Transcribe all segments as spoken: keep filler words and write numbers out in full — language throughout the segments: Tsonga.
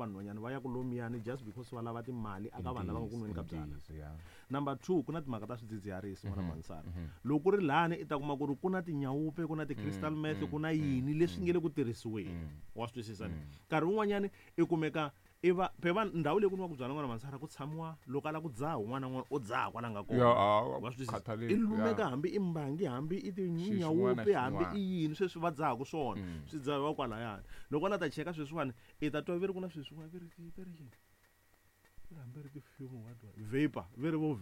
Vanhwanyana va ya ku lomiyani just because va lava timali aka vanhu lava nga ku nweni ka byala. Ntiyiso, ya. Number two, ku na timhaka ta swidzidziharisi, n'wana Mhm, Mansara. mhm. Loko ku ri lani i ta kuma ku ri ku na tinyawupe, ku na ti-crystal Mm, meth, mm, ku na mm, yini leswi mm. nge le ku tirhisiweni. Mm. Wa swi twisisa ni? Mm. Nkarhi wun'wanyani i kumeka i va phe va ndhawu leyi ku nwiwaka byalwa, n'wana Mansara, ku tshamiwa loko a lava ku dzaha un'wana na un'wana u dzaha kwala nga kona. Ya, a Wa swi twisisa? khathaleki, I lumeka ya. hambi i mbangi, hambi i Xi xin'wana tinyawupe, hambi xin'wana. i yini sweswi va dzahaka swona, Mm. swi dzahiwa kwalayani. Loko a la ta cheka sweswiwani, i ta twa ve ri ku na sweswiwani ve ri ve ri yini, ve ri hambi ri ti-fume, what what vapor, ve ri vo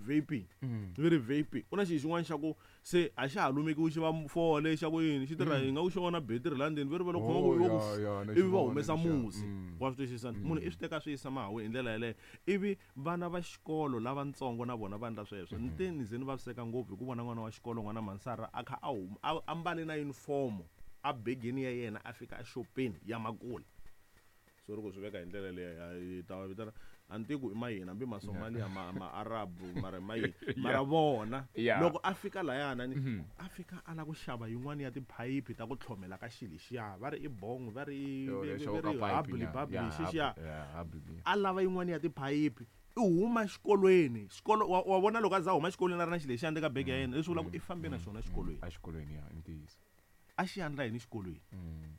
vaping. Mm. Ve ri vaping, ku na xilo xin'wana xa ku se a xa ha lumekiwi, xi va fole xa ku yini, xi tirha Mm. hi nga ku xi vona betiri laha ndzeni, ve ri va lo khoma Oh, ku ya, ku ya, na ivi va xi vona humesa lexiya. musi. Mm. Wa swi twisisa? Munhu i swi teka swi yisa mahawu hi ndlela yeleyo, ivi vana va xikolo lavatsongo na vona va endla sweswo. Ni te ni ze ni vaviseka ngopfu hi ku vona n'wana wa xikolo, n'wana Mansara, a kha a huma a ambale na uniform a begeni ya yena, a fika exopeni ya makula. Sorry ku swi veka hi ndlela leyi, hi ta va vitana a ni tivi ku i ma yini, hambi Masomalia, ma Maarabu, mara ma yini, mara vona Yeah. loko a fika layana ni Mhm. a fika a lava ku xava yin'wani ya tiphayiphi ta ku tlhomela ka xilo lexiya, va ri i bong, va ri i Yo, ve- lexo ve ka ri pipe hubbly nyana. bubbly, Yeah, xexiya. hubbly, yeah, hubbly, yeah. A lava yin'wani ya tiphayiphi, i huma xikolweni, xikolo wa, wa vona loko a za a huma xikolweni a ri na xilo lexiya ndzeni ka bege ya yena, leswi vulaka ku i fambe na xona xikolweni. A xikolweni, ya, i ntiyiso. A xi endla yini xikolweni? Mm.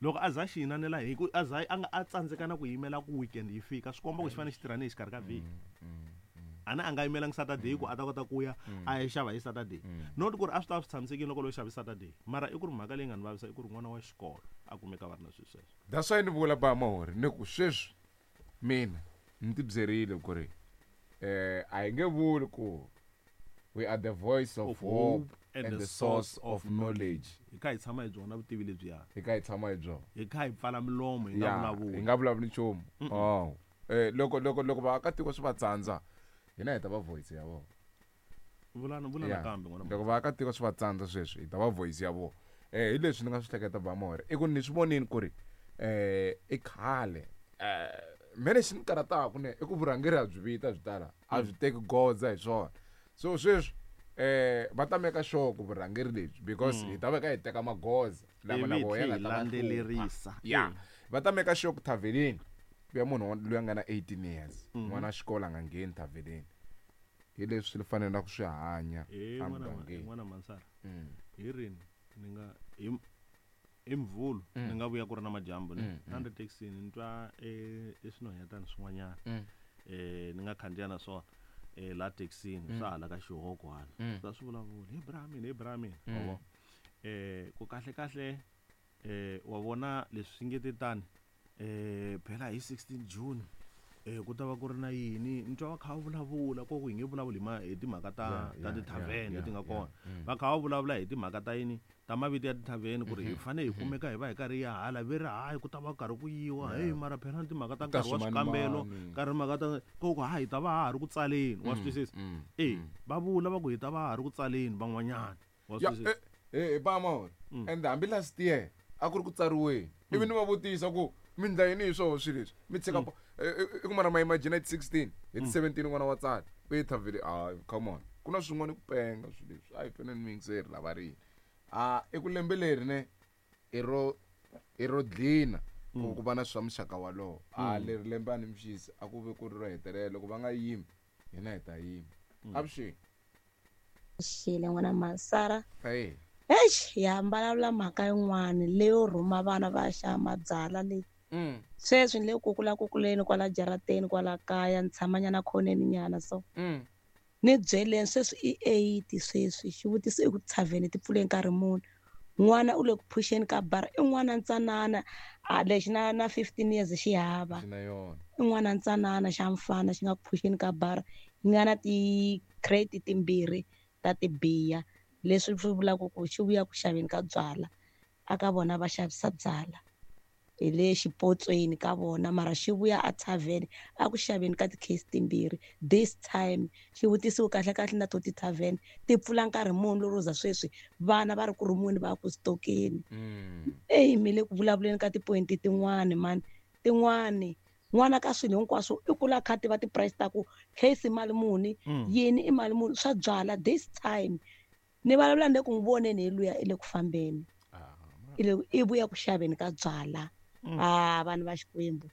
Loko a za a xi yinanela hi ku a za a nga a tsandzeka na ku yimela ku weekend yi fika, swi komba ku xi fanele xi tirha ni hi xikarhi ka vhiki. Mm, mm, mm. A na a nga yimelangi Saturday ku a ta kota ku ya Mm. a ya xava hi Saturday. Mm. Not ku ri a swi ta swi tshamisekile loko lo xavi Saturday, mara i ku ri mhaka leyi nga ni vavisa i ku ri n'wana wa xikolo a kumeka va ri na swilo sweswo. That's why ni vula ba Mahori ni ku sweswi mina ni ti byerile ku ri eh a hi nge vuli ku we are the voice of Of hope hope and and the the source source of of knowledge. Hi kha hi tshama hi byona vutivi lebyiya. Hi kha hi tshama hi byona. Hi kha hi pfala milomo, hi nga Ya, vulavuli. hi nga vulavuli nchumu. Oh. Eh, loko, loko, loko vaakatiko swi va tsandza, hina hi ta va voice ya vona. Vulana, vulana Ya. kambe n'wana. Loko vaakatiko swi va tsandza sweswi, hi ta va voice ya vona. Eh, hi leswi ni nga swi hleketa ba Mahori, i ku ni swi vonini ku ri, eh, i khale. Eh, me lexi ni karhataka ne, i ku vurhangeri a byi vita byi tala, a byi teki goza hi swona. So sweswi, eh, va ta make sure ku vurhangeri lebyi, because Mm. hi ta va ka hi teka magoza lama na Ivi vona ya hi nga ta va hlupha. landzelerisa. Ya. Mm. Va ta make sure ku thavhenini ku ya munhu loyi a nga na eighteen years, Mm-hmm. n'wana wa xikolo a nga ngheni thavhenini. Hi leswi swi fanelaka swi hanya Eh, n'wana ma- emugangeni. n'wana Mansara. Mm. Hi rini ni nga hi hi Mvhulu Mm. ni nga vuya ku ri na madyambu ni Mm, mm. a ni ri taxini, ni twa, eh, e swinhwanyetana swin'wanyana. Mm. Eh, ni nga khandziya na swona, eh, la taxini, Mm. swa hala ka xihoko hala. Mm. Swa swi vulavula, hi bra mina, hi bra mina. Mm. Wa vona? Eh, ku kahle kahle, eh, wa vona leswi swi nge te tani, eh, phela hi sixteen June, eh, ku ta va ku ri na yini, ni twa va kha va vulavula, ko ku hi nge vulavuli hi ma-, hi timhaka ta, Yeah, ta yeah, ti-tavern yeah, leti nga yeah, kona. mm. Va kha va vulavula hi timhaka ta yini, ta mavito ya ti-tavern, ku ri hi Mm-hmm. fanele hi kumeka hi va hi karhi hi ya hala, ve ri hayi ku ta va karhi ku yiwa, Yeah. hey, mara phela ni timhaka ta Ta nkarhi wa swikambelo, swimanimani. nkarhi mhaka ta ko ku ha hi ta va ha ha ri ku tsaleni, wa swi Mm, twisisa? mm, Eh, mm. va vula va ku hi ta va ha ha ri ku tsaleni van'wanyana, wa swi Ya, twisisa? eh, eh, ba Mahori. Mm. And hambi last year a ku ri ku tsariweni, ivi ni va vutisa ku mi ndla yini hi swoho swilo leswi, mi tshika Mm. po-, eh, eh, i ku mara ma imagine hi ti sixteen, hi ti seventeen n'wana wa tsala u ye thavhele, ah, come on, ku na swin'wana ku penga swilo leswi, a hi fanele ni yingiseri lava rini. Ah, i ku lembe leri ne, i ro, i ro dlina ku Mm. ku va na swa muxaka walowo. Ah, Mm. leri lembe a ni mixisi, a ku ve ku ri ro hetelela, loko va nga yimi, hina hi ta yima. Mm. Avuxeni. Xile n'wana Mansara. Hey. Eish, ya vulavula mhaka yin'wani leyo rhuma vana va ya xava mabyalwa leyi. Mm. Sweswi ni le ku kula kukuleni kwala jarateni kwala kaya, ni tshama nyana khoneni nyana so. Mm. Ni byeleni sweswi i eight sweswi, xivutiso i ku thavheni ti pfule nkarhi muni. N'wana u le ku phuxeni ka bara, i n'wana ntsanana, a lexi na, na fifteen years xi hava. Xi na yona. I n'wana ntsanana xa mfana xi nga ku phuxeni ka bara, yi nga na ti-crate timbirhi ta tibiya, leswi swi vulaka ku xi vuya ku xaveni ka byalwa, a ka vona va xavisa byalwa. Hi le xipotsweni ka vona, mara xi vuya a thavheni a ku xaveni ka ti-case timbirhi. This time xivutiso kahle kahle na to ti-tavern ti pfula nkarhi muni lero za sweswi vana va ri ku rhumiweni va ya ku stokeni. Mm. Eyi, mi le ku vulavuleni ka ti-point tin'wani mani, tin'wani n'wana ka swilo hinkwaswo i kula kha tiva ti-price ta ku case i mali muni, Mm. yini i mali muni, swa byala. This time ni vulavula ni le ku n'wi voneni hi luya i le ku fambeni, Ah, i le, i vuya ku xaveni ka byala. Mm. Ah, vanhu va Xikwembu.